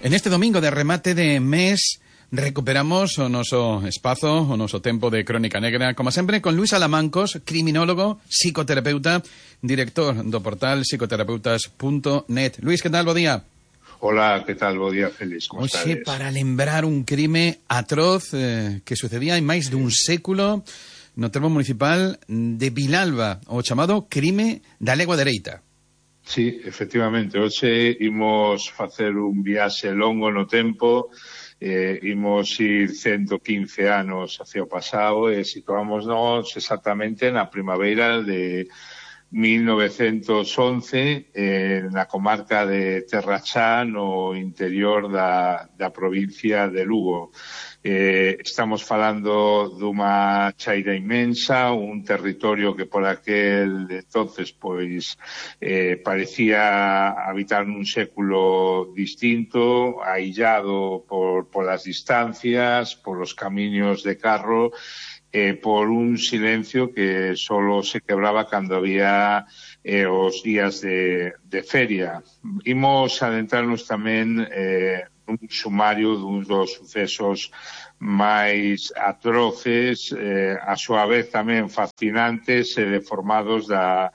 En este domingo de remate de mes recuperamos o noso espazo, o noso tempo de Crónica Negra, como sempre, con Luís Alamancos, criminólogo, psicoterapeuta, director do portal psicoterapeutas.net. Luís, que tal? Bo día. Hola, ¿qué tal? Bo día, Félix. Como Hoxe, estades? para lembrar un crime atroz que sucedía hai máis dun século no termo municipal de Vilalba, o chamado crime da legua dereita. Sí, efectivamente. Hoxe imos facer un viaxe longo no tempo, imos ir 115 anos hacia o pasado e situámonos exactamente na primavera de 1911 na comarca de Terra Chá, no interior da provincia de Lugo. Estamos falando dunha chaira inmensa, un territorio que por aquel entonces pois parecía habitar nun século distinto, aillado polas distancias, polos camiños de carro, por un silencio que solo se quebraba cando había os días de feria. Imos adentrarnos tamén un sumario dun dos sucesos máis atroces, a súa vez tamén fascinantes e deformados da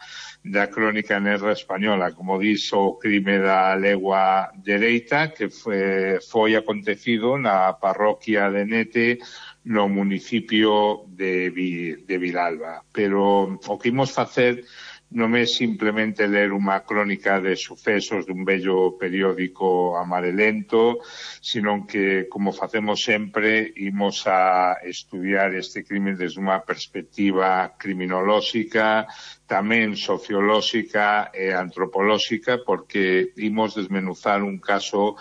crónica negra española, como dis, o crime da legua dereita, que foi acontecido na parroquia de Nete, no municipio de Vilalba. Pero o que imos facer non é simplemente ler unha crónica de sucesos dun bello periódico amarelento, sino que, como facemos sempre, imos a estudiar este crime desde unha perspectiva criminolóxica, tamén sociolóxica e antropolóxica, porque imos desmenuzar un caso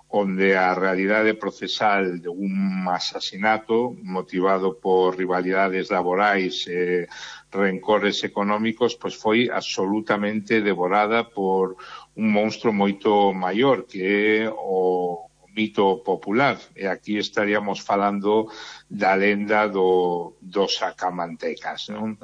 onde a realidade procesal de un asasinato motivado por rivalidades laborais e rencores económicos, pois foi absolutamente devorada por un monstro moito maior, que é o mito popular. E aquí estaríamos falando da lenda dos sacamantecas, non?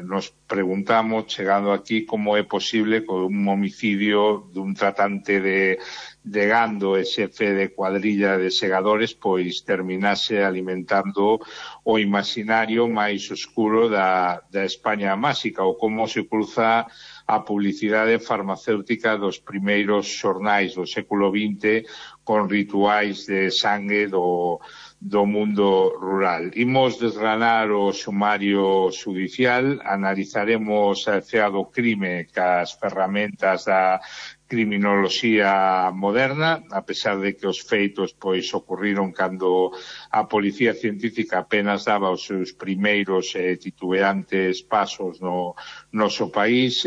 Nos preguntamos, chegando aquí, como é posible que un homicidio dun tratante de gando e xefe de cuadrilla de segadores pois terminase alimentando o imaginario máis oscuro da España máxica, ou como se cruza a publicidade farmacéutica dos primeiros xornais do século XX con rituais de sangue do mundo rural. Imos desgranar o sumario judicial, analizaremos a escena do crime cas ferramentas da criminoloxía moderna, a pesar de que os feitos pois ocurriron cando a policía científica apenas daba os seus primeiros titubeantes pasos no noso país.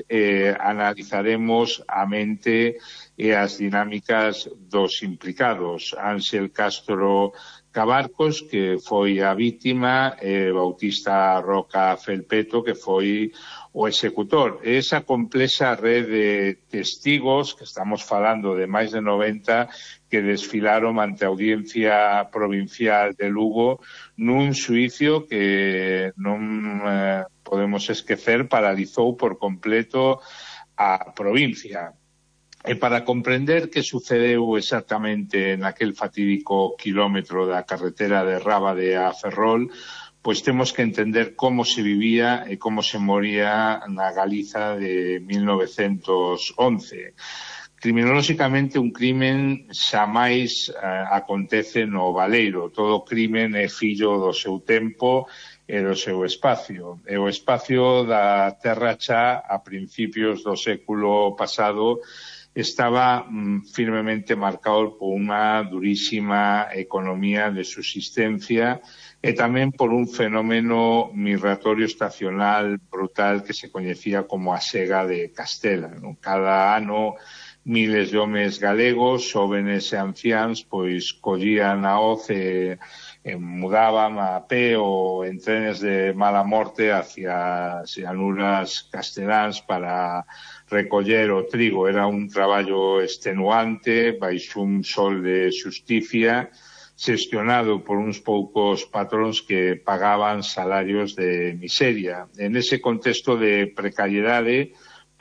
Analizaremos a mente e as dinámicas dos implicados. Ángel Castro Cabarcos, que foi a vítima, e Bautista Roca Felpeto, que foi o executor. Esa complexa red de testigos, que estamos falando de máis de 90, que desfilaron ante a Audiencia Provincial de Lugo nun xuicio que non podemos esquecer paralizou por completo a provincia. E para comprender que sucedeu exactamente naquel fatídico kilómetro da carretera de Rábade a Ferrol, pois temos que entender como se vivía e como se moría na Galiza de 1911. Criminolóxicamente, un crimen xamais acontece no baleiro. Todo crimen é fillo do seu tempo e do seu espacio. E o espacio da Terra Chá a principios do século pasado estaba firmemente marcado por unha durísima economía de subsistencia e tamén por un fenómeno migratorio estacional brutal que se coñecía como a sega de Castela. Cada ano miles de homes galegos, xóvenes e anciáns, pois collían a hoz e mudaban a pé ou en trenes de mala morte hacia as llanuras casteláns para recoller o trigo. Era un traballo extenuante, baixo un sol de xusticia, xestionado por uns poucos patróns que pagaban salarios de miseria. En ese contexto de precariedade,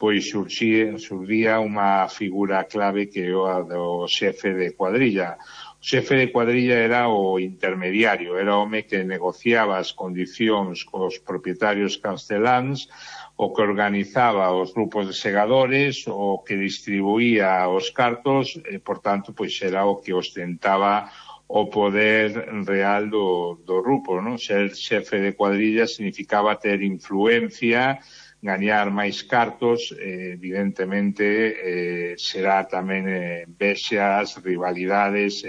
pois surgía unha figura clave que é a do xefe de cuadrilla. O xefe de cuadrilla era o intermediario, era o home que negociaba as condicións cos propietarios casteláns, o que organizaba os grupos de segadores, o que distribuía os cartos, e, por tanto, pois era o que ostentaba o poder real do grupo, non? Ser xefe de cuadrilla significaba ter influencia, gañar máis cartos, evidentemente será tamén vexas, rivalidades,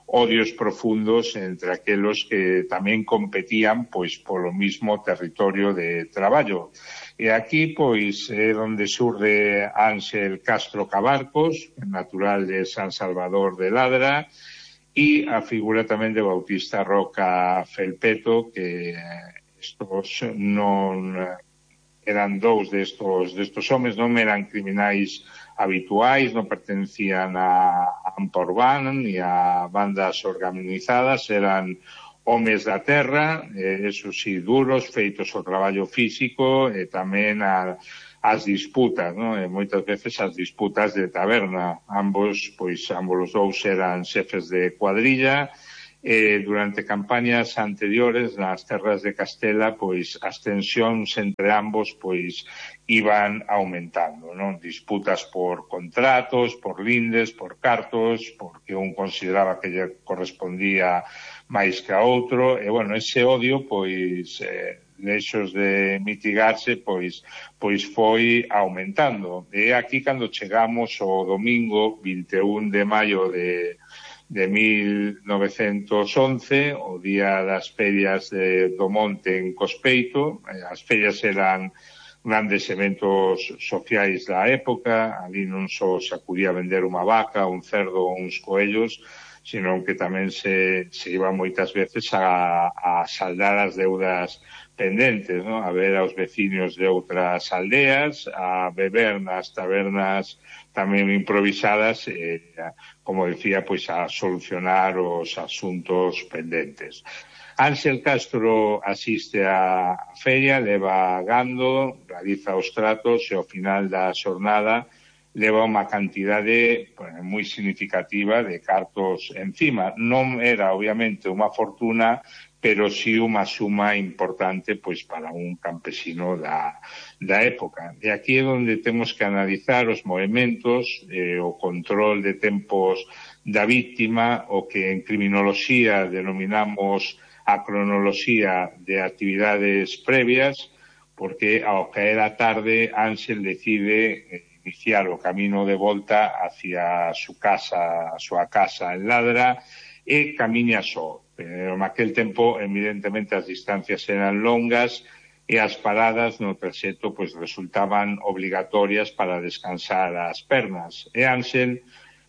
odios profundos entre aquelos que tamén competían pois polo mismo territorio de traballo. E aquí pois é onde surge Ángel Castro Cabarcos, natural de San Salvador de Ladra, e a figura tamén de Bautista Roca Felpeto, que estos non eran dous destos homes, non eran criminais habituais, non pertencían a Amporban ni a bandas organizadas, eran homes da terra, eso sí, duros, feitos ao traballo físico e tamén as disputas, non? E moitas veces as disputas de taberna. Ambos os dous eran xefes de cuadrilla. Durante campañas anteriores nas terras de Castela, pois as tensións entre ambos pois iban aumentando, non? Disputas por contratos, por lindes, por cartos, porque un consideraba que lle correspondía máis que a outro, e, bueno, ese odio, pois, lexos de mitigarse, pois foi aumentando. E aquí, cando chegamos ao domingo 21 de maio de 1911, o día das ferias do Monte en Cospeito. As ferias eran grandes eventos sociais da época, ali non só se acudía a vender unha vaca, un cerdo ou uns coellos, senón que tamén se iba moitas veces a saldar as deudas pendentes, ¿no? A ver aos veciños de outras aldeas, a beber nas tabernas tamén improvisadas, como decía, pois a solucionar os asuntos pendentes. Ángel Castro asiste á feria, leva gando, realiza os tratos e ao final da xornada leva unha cantidade moi significativa de cartos encima. Non era, obviamente, unha fortuna, pero sí unha suma importante pois para un campesino da época. E aquí é onde temos que analizar os movementos, o control de tempos da víctima, o que en criminoloxía denominamos a cronoloxía de actividades previas, porque ao caer a tarde Ángel decide iniciar o camino de volta hacia a súa casa en Ladra, e camiña só. Pero naquel tempo, evidentemente, as distancias eran longas e as paradas no traxecto pois resultaban obligatorias para descansar as pernas. E Ángel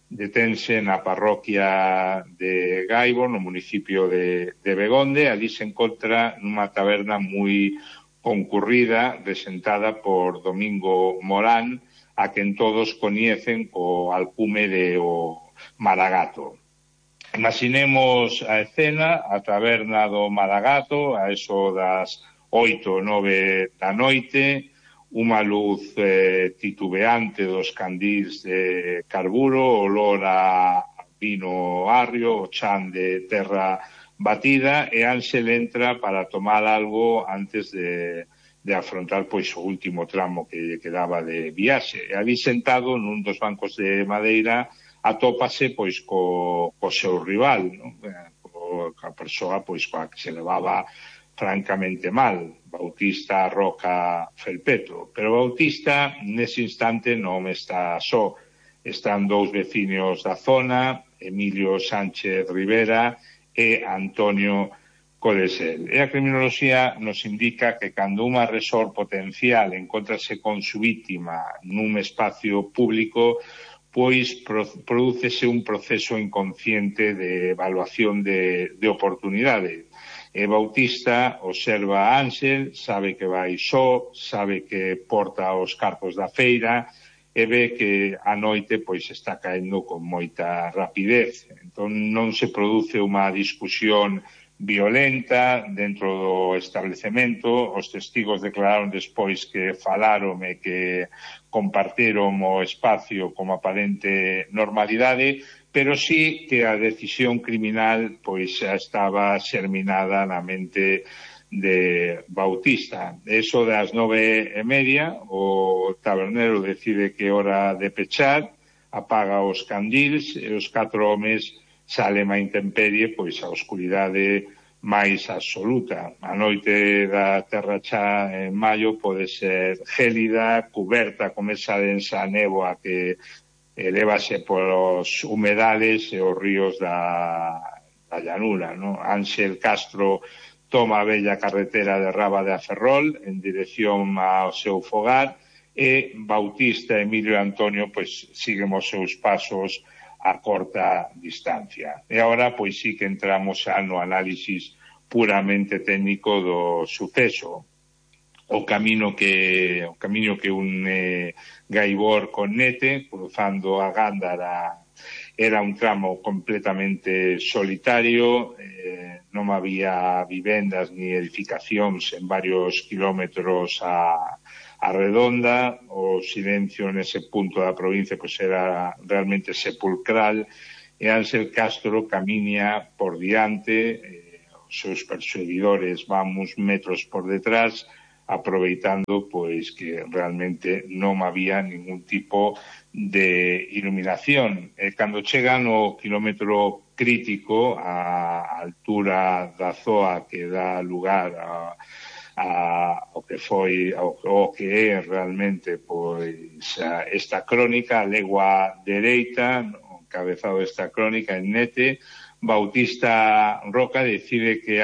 detense na parroquia de Gaibo, no municipio de Begonde. Ali se encontra nunha taberna moi concurrida, resentada por Domingo Morán, a quen todos coñecen co alcume de o Maragato. Imaginemos a escena, a taberna do Maragato, a eso das 8 ou 9 da noite, unha luz titubeante dos candís de carburo, olor a vino agrio, o chan de terra batida, e Ángel entra para tomar algo antes de afrontar pois o último tramo que lle quedaba de viaxe. E ali sentado nun dos bancos de madeira atópase pois co seu rival, non? A persoa pois coa que se levaba francamente mal, Bautista Roca Felpeto. Pero Bautista nese instante non está só. Están dous veciños da zona, Emilio Sánchez Rivera e Antonio Codesel. E a criminoloxía nos indica que cando un agresor potencial encontrase con su víctima nun espacio público, pois prodúcese un proceso inconsciente de evaluación de oportunidade. E Bautista observa a Ángel, sabe que vai só, sabe que porta os cartos da feira e ve que a noite pois está caendo con moita rapidez. Entón non se produce unha discusión violenta dentro do establecemento. Os testigos declararon despois que falaron e que compartiron o espacio como aparente normalidade, pero sí que a decisión criminal pois xa estaba xerminada na mente de Bautista. Eso das 9:30, o tabernero decide que é hora de pechar, apaga os candils e os 4 homes salen á intemperie, pois a oscuridade máis absoluta. A noite da Terra Chá en maio pode ser gélida, cuberta con esa densa néboa que elévase polos humedales e os ríos da llanura, ¿no? Ángel Castro toma a bella carretera de Raba de Ferrol en dirección ao seu fogar e Bautista e Emilio Antonio pois siguen os seus pasos a corta distancia. E agora pois sí que entramos xa no análisis puramente técnico do suceso. O camiño que une Gaibor con Nete, cruzando a Gándara, era un tramo completamente solitario, non había vivendas ni edificacións en varios kilómetros a redonda. O silencio nese punto da provincia pois era realmente sepulcral e Ángel Castro camiña por diante, os seus perseguidores van uns metros por detrás, aproveitando pois que realmente non había ningún tipo de iluminación. Cando chegan ao kilómetro crítico, a altura da zoa que dá lugar ao que é realmente pois esta crónica, a legua dereita, o encabezado desta crónica en Nete, Bautista Roca decide que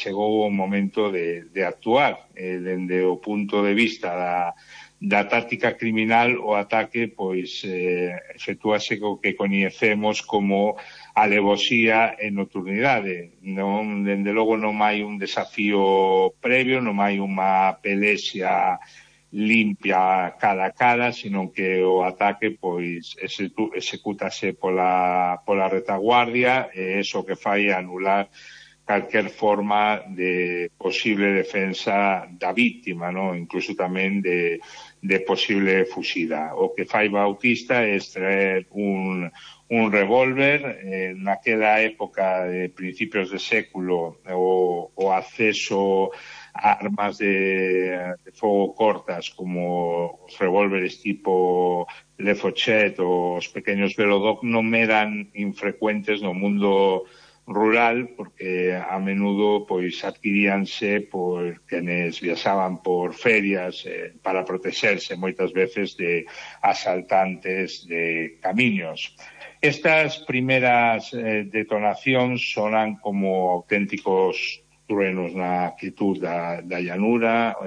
chegou o momento de actuar. Dende o punto de vista da táctica criminal, o ataque pois efectúase co que coñecemos como alevosía e nocturnidade. Non, dende logo non hai un desafío previo, non hai unha pelexia limpia cara a cara, sino que o ataque pois execútase pola retaguardia, e iso que fai anular calquer forma de posible defensa da víctima, ¿no? Incluso tamén de posible fuxida. O que fai Bautista é extraer un revólver. Naquela época de principios de século, o acceso a armas de fogo cortas como os revólveres tipo Le Fochet ou os pequeños Velodoc non eran infrecuentes no mundo rural, porque a menudo pois adquiríanse por quenes viaxaban por ferias para protexerse moitas veces de asaltantes de camiños. Estas primeras detonacións sonan como auténticos truenos na quietud da llanura.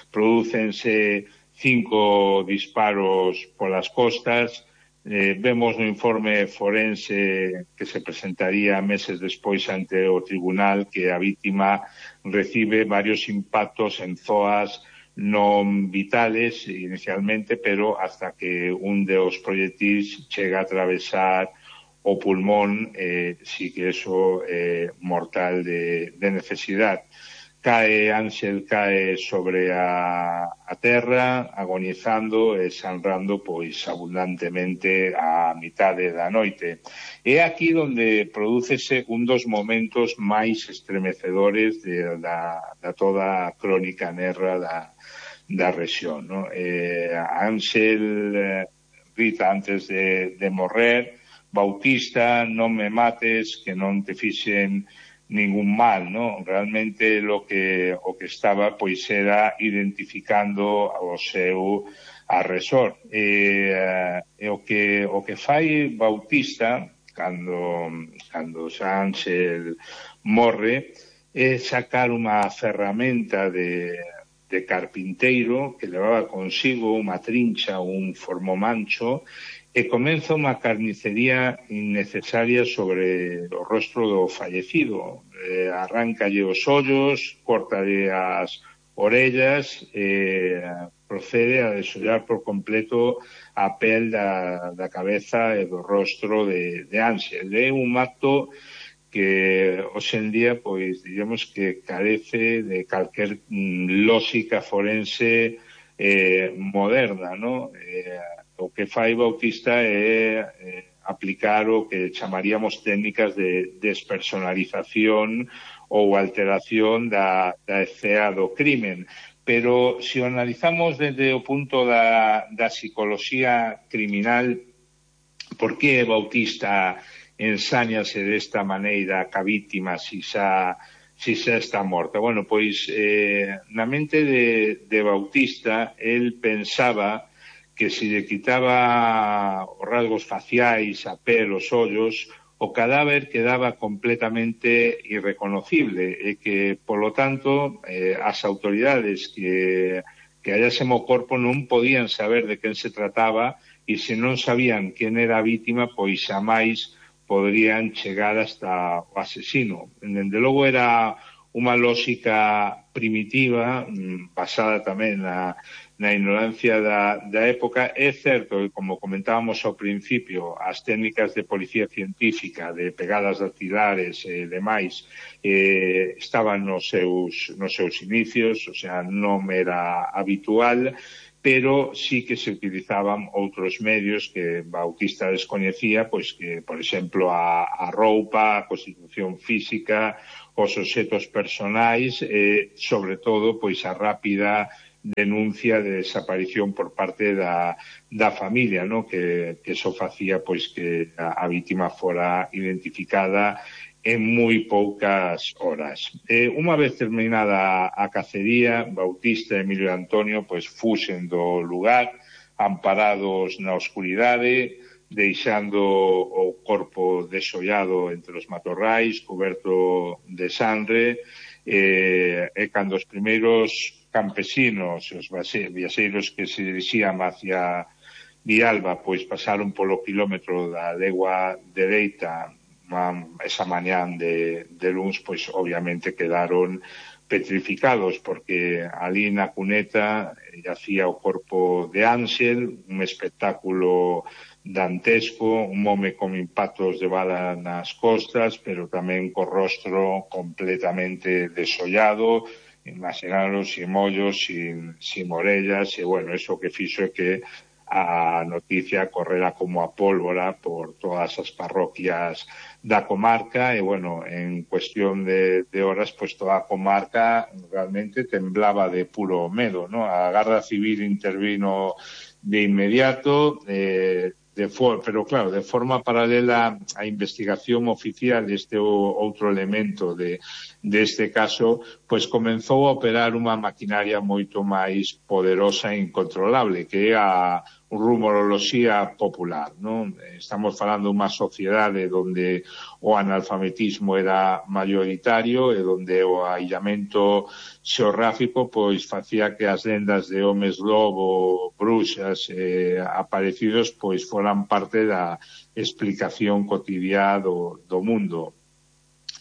Prodúcense 5 disparos polas costas. Vemos no informe forense que se presentaría meses despois ante o tribunal que a vítima recibe varios impactos en zoas non vitales inicialmente, pero hasta que un dos proyectiles chega a atravesar o pulmón, sí que eso mortal de necesidade. Ángel cae sobre a terra, agonizando e sangrando pois abundantemente a mitade da noite. É aquí onde prodúcese un dos momentos máis estremecedores da toda a crónica negra da rexión, ¿no? Ángel grita antes de morrer: Bautista, non me mates, que non te fixen ningún mal, ¿no? Realmente o que estaba pois era identificando o seu agresor. O que fai Bautista cando Ángel morre é sacar unha ferramenta de carpinteiro que levaba consigo unha trincha, un formomancho, e comeza unha carnicería innecesaria sobre o rostro do fallecido. Arráncalle os ollos, córtalle as orellas e procede a desollar por completo a pel da cabeza e do rostro de Ángel. É un acto que hoxe en día, pois, diríamos que carece de calquer lógica forense moderna, ¿no? O que fai Bautista é aplicar o que chamaríamos técnicas de despersonalización ou alteración da escena do crimen. Pero se o analizamos desde o punto da psicología criminal, por que Bautista ensáñase desta maneira ca vítima si xa está morta? Bueno, pois na mente de Bautista, el pensaba que se lle quitaba os rasgos faciais, a pel, os ollos, o cadáver quedaba completamente irreconocible e que, polo tanto, as autoridades que hallásemos o corpo non podían saber de quen se trataba e se non sabían quen era a vítima, pois xamais poderían chegar hasta o asesino. Dende logo era unha lógica primitiva, basada tamén na ignorancia da época. É certo que, como comentábamos ao principio, as técnicas de policía científica, de pegadas dactilares e demais, estaban nos seus inicios, o sea, non era habitual, pero sí que se utilizaban outros medios que Bautista descoñecía, pois que, por exemplo, a roupa, a constitución física, os obxetos personais e, sobre todo, pois a rápida denuncia de desaparición por parte da familia, ¿no? Que eso facía pois que a vítima fora identificada en moi poucas horas. Unha vez terminada a cacería, Bautista e Emilio Antonio pois fuxen do lugar, amparados na oscuridade, deixando o corpo desollado entre os matorrais, coberto de sangre, e cando os primeiros campesinos, os viaxeiros que se dirixían hacia Villalba, pois pasaron polo kilómetro da legua dereita esa mañán de luns, pois obviamente quedaron petrificados, porque ali na cuneta yacía o corpo de Ángel, un espectáculo dantesco, un home con impactos de bala nas costas, pero tamén co rostro completamente desollado, imaginaros, sin mollos, sin orellas, e bueno, eso que fixo é que a noticia correra como a pólvora por todas as parroquias da comarca e, bueno, en cuestión de horas, pues toda a comarca realmente temblaba de puro medo, ¿no? A Garda Civil intervino de inmediato, pero claro, de forma paralela á investigación oficial deste outro elemento deste caso, pois comenzou a operar unha maquinaria moito máis poderosa e incontrolable, que é a rumoroloxía popular, non? Estamos falando dunha sociedade onde o analfabetismo era mayoritario e onde o aillamento xeográfico pois facía que as lendas de homes lobo, bruxas aparecidos pois foran parte da explicación cotidiá do mundo.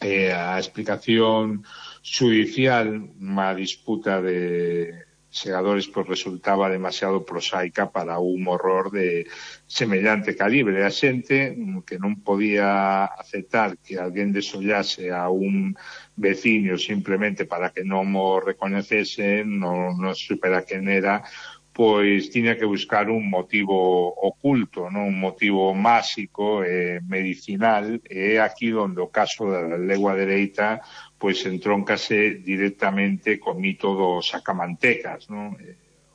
A explicación judicial, unha disputa de segadores, pois resultaba demasiado prosaica para un horror de semellante calibre. A xente que non podía aceptar que alguén desollase a un veciño simplemente para que non o recoñecese, non supera quen era, pois tiña que buscar un motivo oculto, non? Un motivo máxico e medicinal, e é aquí onde o caso da legua dereita pois entróncase directamente co mito dos sacamantecas, non?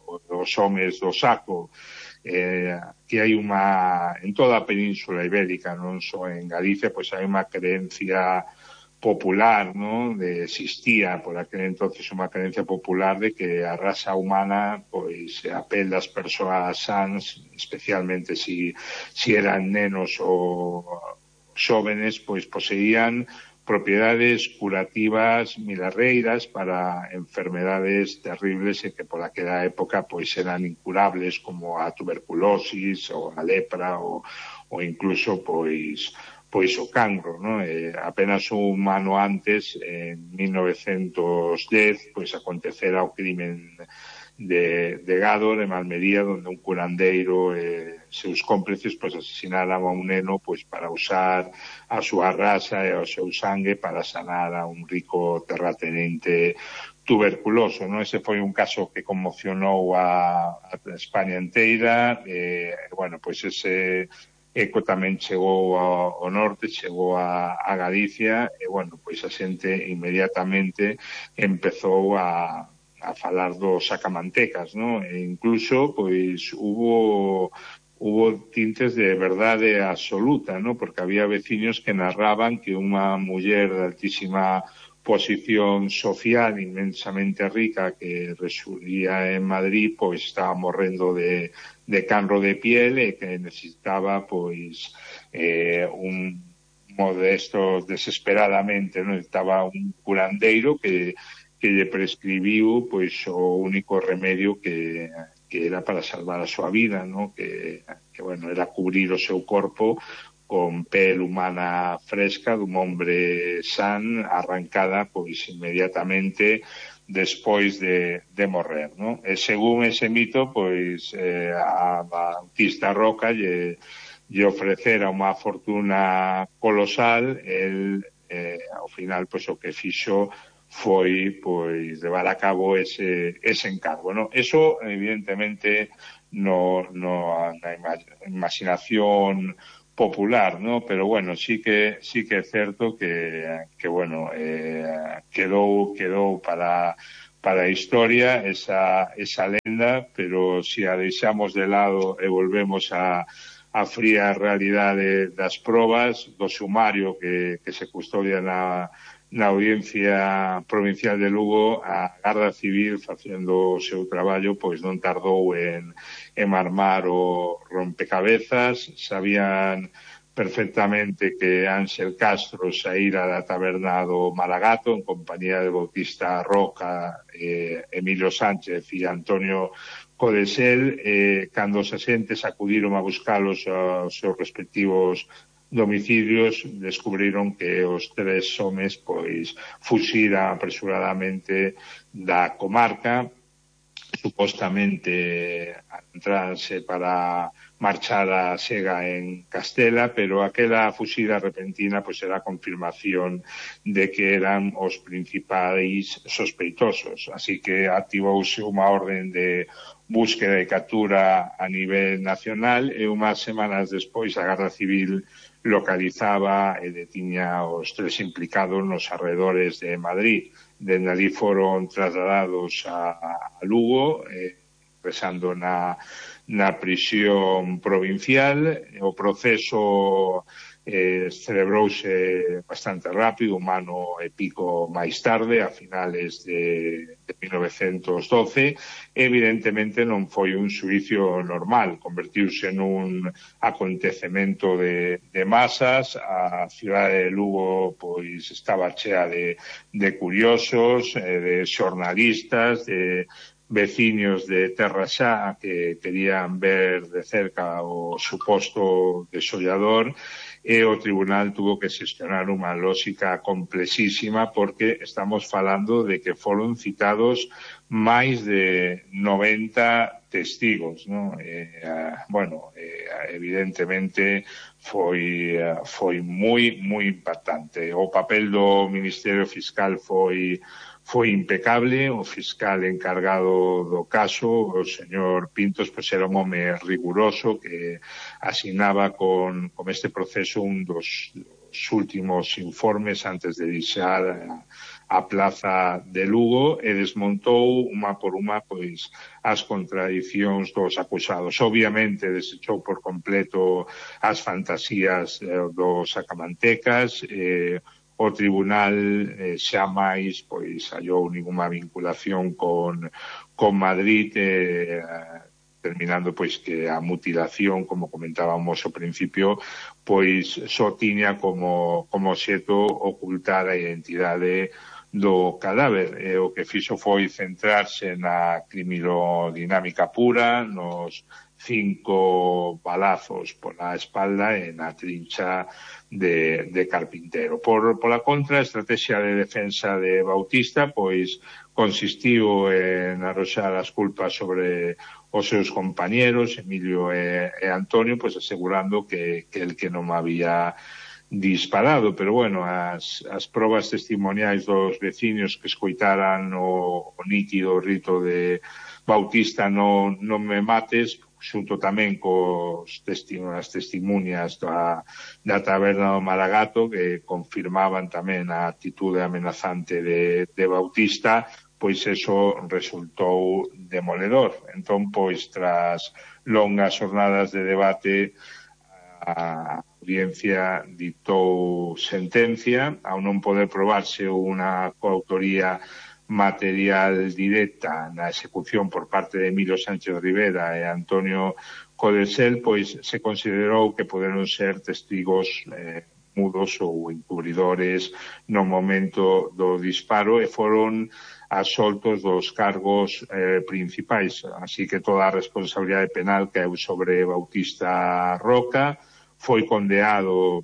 Os homes do saco, que hai en toda a península ibérica, non só en Galicia, pois hai unha creencia popular, ¿no? Existía por aquel entonces unha creencia popular de que a raza humana, pois a pel das persoas sans, especialmente si eran nenos ou xóvenes, pois poseían propiedades curativas milarreiras para enfermedades terribles e que por aquela época pois eran incurables, como a tuberculosis ou a lepra ou incluso pois o cancro, ¿no? Apenas un ano antes, en 1910, pois acontecera o crimen de Gádor, en Almería, donde un curandeiro seus cómplices pois asesinaran a un neno pois para usar a súa raza e o seu sangue para sanar a un rico terratenente tuberculoso, non? Ese foi un caso que conmocionou a España inteira, bueno, pois ese eco tamén chegou ao norte, chegou a Galicia, e, bueno, pois a xente inmediatamente empezou a falar dos sacamantecas, non? E incluso, pois, hubo tintes de verdade absoluta, ¿no? Porque había veciños que narraban que unha muller de altísima posición social inmensamente rica que residía en Madrid, pois estaba morrendo de cancro de piel e que necesitaba pois un modesto desesperadamente, ¿no? Necesitaba un curandeiro que lle prescribiu pois o único remedio que era para salvar a súa vida, ¿no? Que bueno, era cubrir o seu corpo con pel humana fresca dun hombre san, arrancada pois inmediatamente despois de morrer, ¿no? E según ese mito, pois a Bautista Roca lle ofrecera unha fortuna colosal, el ao final pois o que fixo foi pois levar a cabo ese encargo, ¿no? Eso evidentemente na imaginación popular, ¿no? Pero bueno, sí que é certo que bueno, quedou para a historia esa lenda, pero si a deixamos de lado e volvemos a fría realidade das probas do sumario que se custodia na Audiencia Provincial de Lugo, a Garda Civil, facendo o seu traballo, pois non tardou en armar o rompecabezas. Sabían perfectamente que Ángel Castro saíra da taberna do Malagato en compañía de Bautista Roca, Emilio Sánchez e Antonio Codesel, cando os axentes acudiron a buscalos aos seus respectivos domicilios, descubriron que os tres homes pois fuxiran apresuradamente da comarca, supostamente a entrarse para marchar a Sega en Castela, pero aquela fuxida repentina pois era a confirmación de que eran os principais sospeitosos, así que activouse unha orden de búsqueda e captura a nivel nacional, e unhas semanas despois a Garda Civil localizaba e detiña os tres implicados nos arredores de Madrid. Dende ali foron trasladados a Lugo, ingresando na prisión provincial. O proceso celebrouse bastante rápido, un ano e pico máis tarde, a finales de 1912. Evidentemente non foi un xuicio normal, convertiuse nun acontecemento de masas. A cidade de Lugo pois estaba chea de curiosos, de xornalistas, de veciños de Terra Xa que querían ver de cerca o suposto desollador, e o tribunal tuvo que xestionar unha lógica complexísima, porque estamos falando de que foron citados máis de 90 testigos, ¿no? Bueno, evidentemente foi moi impactante. O papel do Ministerio Fiscal foi impecable. O fiscal encargado do caso, o señor Pintos, pois era un home riguroso que asignaba con este proceso un dos últimos informes antes de deixar a plaza de Lugo, e desmontou unha por unha pois as contradicións dos acusados. Obviamente desechou por completo as fantasías dos sacamantecas. O tribunal xa máis pois hallou ninguna vinculación con Madrid, terminando pois que a mutilación, como comentábamos ao principio, pois só tiña como obxecto ocultar a identidade do cadáver. O que fixo foi centrarse na criminodinámica pura, nos 5 balazos pola espalda e na trincha de Carpintero. Pola contra, a estrategia de defensa de Bautista pois consistiu en arroxar as culpas sobre os seus compañeros, Emilio e Antonio, pois asegurando que el que non había disparado, pero bueno, as probas testimoniais dos veciños que escoitaran o nítido rito de Bautista non me mates, xunto tamén as testimunias da taberna do Maragato, que confirmaban tamén a actitude amenazante de Bautista, pois eso resultou demoledor. Entón, pois, tras longas jornadas de debate, a audiencia ditou sentencia, ao non poder probarse unha coautoría material directa na execución por parte de Emilio Sánchez Rivera e Antonio Codesel, pois se considerou que poderon ser testigos mudos ou encubridores no momento do disparo e foron absoltos dos cargos principais. Así que toda a responsabilidade penal caeu sobre Bautista Roca, foi condenado,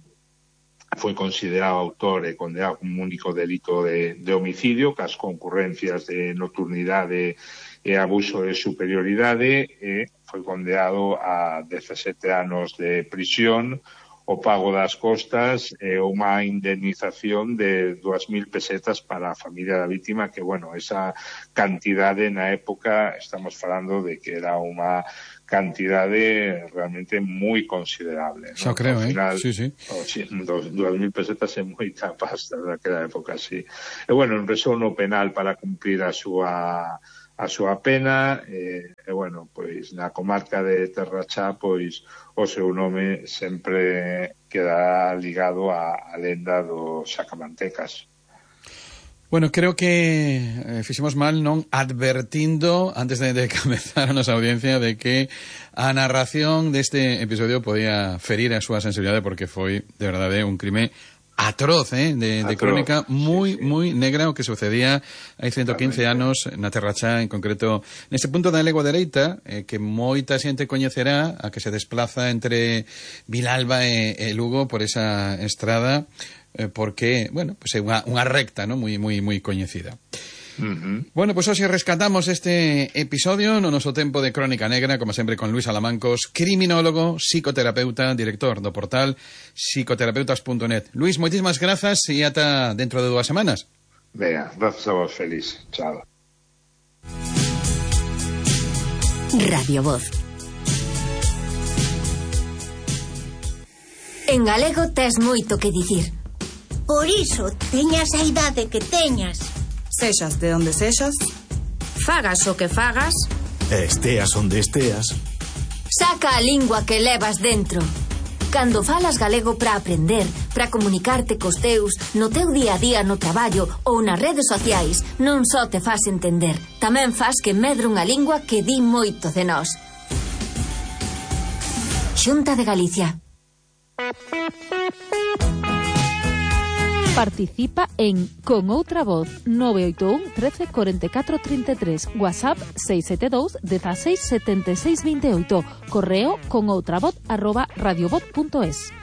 foi considerado autor e condenado como único delito de homicidio, cas concurrencias de nocturnidade e abuso de superioridade, e foi condenado a 17 anos de prisión, o pago das costas e unha indemnización de 2.000 pesetas para a familia da víctima, que, bueno, esa cantidade na época estamos falando de que era unha cantidade realmente moi considerable, Xa, ¿no? Creo, final, sí. 2.000 pesetas é moita pasta daquela época, sí. E, bueno, empezou no penal para cumplir a súa pena, e, bueno, pois na comarca de Terrachá, pois o seu nome sempre queda ligado á lenda dos sacamantecas. Bueno, creo que fixemos mal non advertindo antes de comezar a nosa audiencia de que a narración deste episodio podía ferir a súa sensibilidade, porque foi, de verdade, un crime atroz, de crónica moi negra o que sucedía hai 115 anos na Terrachá, en concreto neste punto da Legua Dereita, que moita xente coñecerá, a que se desplaza entre Vilalba e Lugo por esa estrada, porque, bueno, pues é unha recta, ¿no? moi coñecida. Bueno, pues hoxe rescatamos este episodio no noso tempo de Crónica Negra, como sempre con Luis Alamancos, criminólogo, psicoterapeuta, director do portal psicoterapeutas.net. Luis, moitísimas grazas e ata dentro de 2 semanas. Venga, grazas a vos, feliz. Chao. Radio Voz. En galego tes moito que dicir. Por iso, teñas a idade que teñas. Sexas de onde sexas, Fagas o que fagas, esteas onde esteas, saca a lingua que levas dentro. Cando falas galego para aprender, para comunicarte cos teus, no teu día a día no traballo ou nas redes sociais, non só te fas entender, tamén fas que medre unha lingua que di moito de nós. Xunta de Galicia. Participa en Con Outra Voz 981 13 44 33, WhatsApp 672 16 76 28, correo conoutravoz@radiovoz.es.